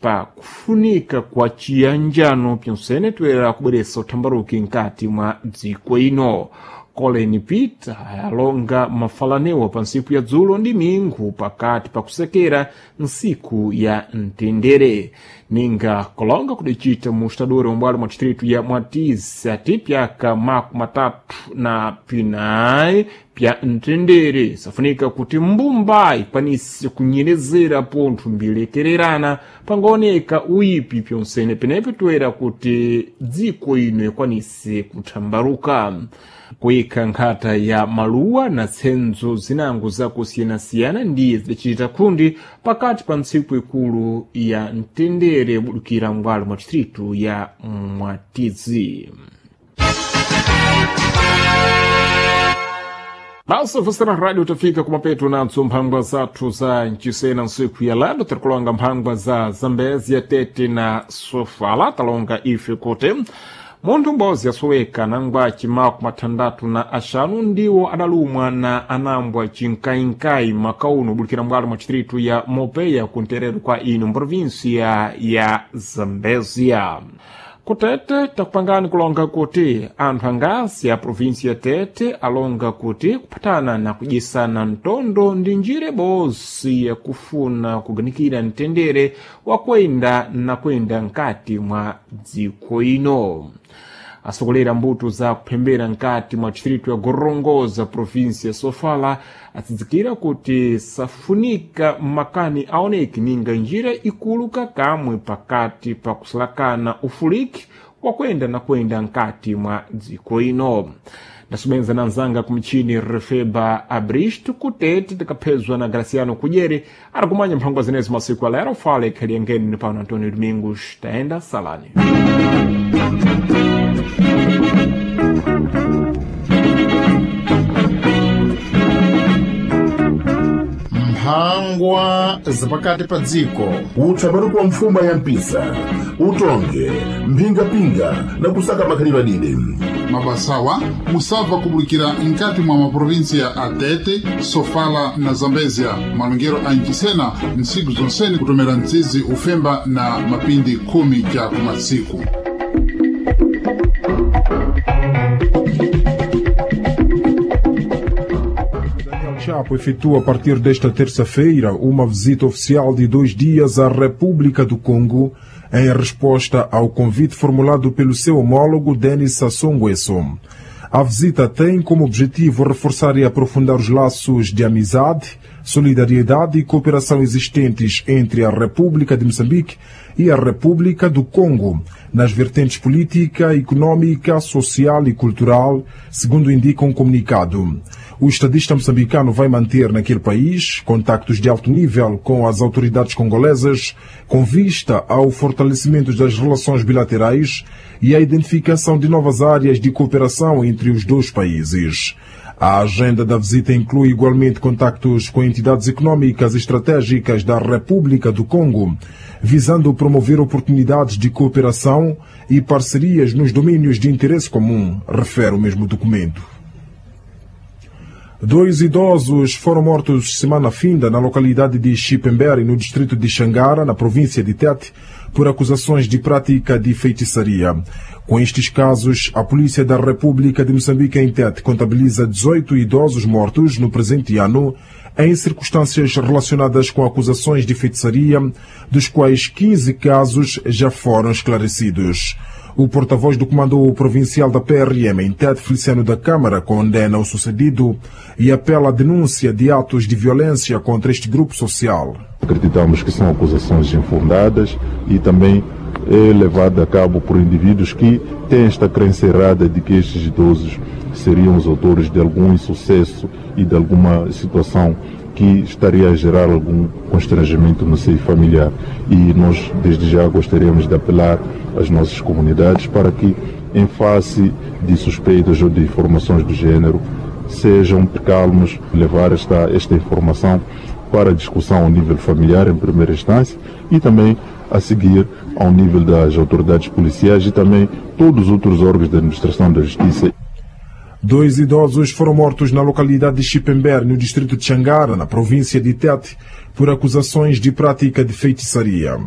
Pa kufunika kwa chiyanjano pyonsene toyera kubweretsa uthambaruki mkati mwa dziko ino. Colin Peter alonga mafalanewa pa ntsiku ya dzulo ndi minghu pakati pakusekera ntsiku ya mtendere. Ninga kolonga kudicita mu estadori ombwalo mwa distritu ya Mwatizi ati pyaka 39 pya mtendere safunika kuti mbumba ikwanise kunyerezera pontho mbilekererana pangaoneka uyipi pyonsene penepo toyera kuti dziko ino ikwanise kuthambaruka. Kuyikha nkhata ya maluwa na tsenzo zinango zakusiyanasiyana ndiye zidacita khundi pakati pa ntsiku ikulu ya mtendere budukira m'bwalo mwa distritu ya Mwatizi. Basa vosera rádio tafika kumapeto nadzo mphangwa zathu za mcisena ntsiku ya lado tirikulonga mphangwa za Zambezia, Tete na Sofala. Talonga ife kuti munthu m'bodzi asoweka nangwa 65 ndiwo adalumwa na anambwa cinkayinkayi makauno bulikira mbwalo mwa distritu ya Mopeya kunterero kwa ino mprovinsia ya Zambezia. Kutete takupangani kulonga kuti anthu angasi a provinsi ya Tete alonga kuti kuphatana na kudyesana mtondo ndi njira ibodzi yakufuna kuganikira mtendere wakwenda na kwenda mkati mwa dziko ino. Asokolera mbuto za kuphembera mkati mwa distritu ya Gorongosa, provinsi ya Sofala, atsidzikira kuti safunika makani aoneke ninga njira ikulu kakamwe pakati pa kusalakana ufuliki wakwenda na kwenda mkati mwa dziko ino. Ndasubenza na nzanga kumchini Refeba Abristo kutete tikaphezwa na Graciano Kudyere arikumanya mphangwa zenezi masiku alero fale khaliangeni pano Antonio Domingos taenda salani. Mphangwa zapakati pa dziko. Utsabaruku wa mfuma ya mpisa utonge mphingapinga na kusaka makhalidwe adide. Mabasawa musabva kubulikira nkati mwa maprovinsia a Tete, Sofala na Zambezia. Malongero a mcisena ntsiku zonsene kutomera mtsizi ufemba na mapindi khumi ca kumatsiku. Daniel Chapo efetua a partir desta terça-feira uma visita oficial de 2 dias à República do Congo em resposta ao convite formulado pelo seu homólogo Denis Sassou Nguesso. A visita tem como objetivo reforçar e aprofundar os laços de amizade, solidariedade e cooperação existentes entre a República de Moçambique e a República do Congo, nas vertentes política, econômica, social e cultural, segundo indica um comunicado. O estadista moçambicano vai manter naquele país contactos de alto nível com as autoridades congolesas, com vista ao fortalecimento das relações bilaterais e à identificação de novas áreas de cooperação entre os dois países. A agenda da visita inclui igualmente contactos com entidades econômicas e estratégicas da República do Congo, visando promover oportunidades de cooperação e parcerias nos domínios de interesse comum, refere o mesmo documento. Dois idosos foram mortos semana finda na localidade de Chipembere, no distrito de Xangara, na província de Tete, por acusações de prática de feitiçaria. Com estes casos, a Polícia da República de Moçambique em Tete contabiliza 18 idosos mortos no presente ano, em circunstâncias relacionadas com acusações de feitiçaria, dos quais 15 casos já foram esclarecidos. O porta-voz do Comando Provincial da PRM em Tete, Feliciano da Câmara, condena o sucedido e apela à denúncia de atos de violência contra este grupo social. Acreditamos que são acusações infundadas e também é levada a cabo por indivíduos que têm esta crença errada de que estes idosos seriam os autores de algum insucesso e de alguma situação que estaria a gerar algum constrangimento no seio familiar. E nós, desde já, gostaríamos de apelar às nossas comunidades para que, em face de suspeitas ou de informações do gênero, sejam calmos, levar esta informação para discussão ao nível familiar, em primeira instância, e também a seguir ao nível das autoridades policiais e também todos os outros órgãos da administração da justiça. Dois idosos foram mortos na localidade de Chipember, no distrito de Xangara, na província de Tete, por acusações de prática de feitiçaria.